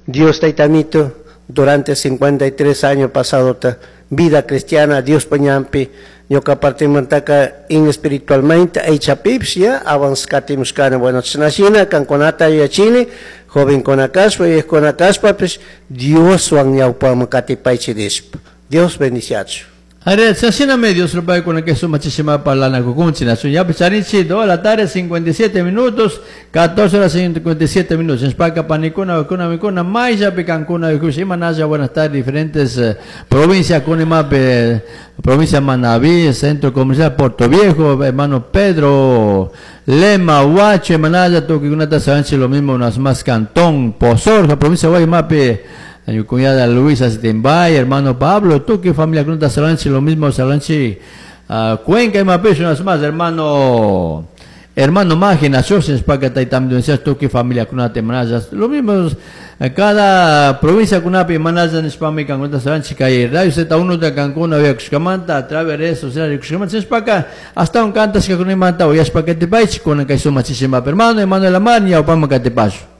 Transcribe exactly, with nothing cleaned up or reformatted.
Dios Taytamito durante cincuenta y tres años pasado vida cristiana Dios ñanpi ñuka partimantaka in espiritualmente aychapipish ya avanzkatimushkani. Bueno, chashnashina kankunata yuyachini, jovenkuna kashpa, yuyakuna kashpapish, Dioswan ñawpaman katipaychik nishpa. Dios bendiciachu. Are, sasina Dios lo con que suma chisima parlana kukunchi na ya picharichi dos de la tarde cincuenta y siete minutos, catorce horas cincuenta y siete minutos. Spaka panikuna kuna mikuna maisha pikankuna manaya, buenas tardes, diferentes eh, provincias kunimape, provincia Manabí, Centro Comercial Puerto Viejo, hermano Pedro Lema, Huacho, Manaya, Tuquikunata, Sabanchi, lo mismo, unas más Cantón, Pozorja, provincia Guaymape, mi cuñada Luisa Sitimbay, hermano Pablo, tú que familia Crunta Salanchi, lo mismo Salanchi, uh, Cuenca y Mapish, unas más, hermano, hermano Mágina, Socios, Pacata y también tú que familia Crunta Manayas, lo mismo, cada provincia kunapi manaya nishpami kankunata salanchi kay Radio Z uno de Cancún había kushkamanta a través de redes sociales kushkamanta nishpaka hasta un cantashkakunamanta uyashpa katipaychik kunan kay sumachishima hermano Emanuel Amar ñawpaman katipashu.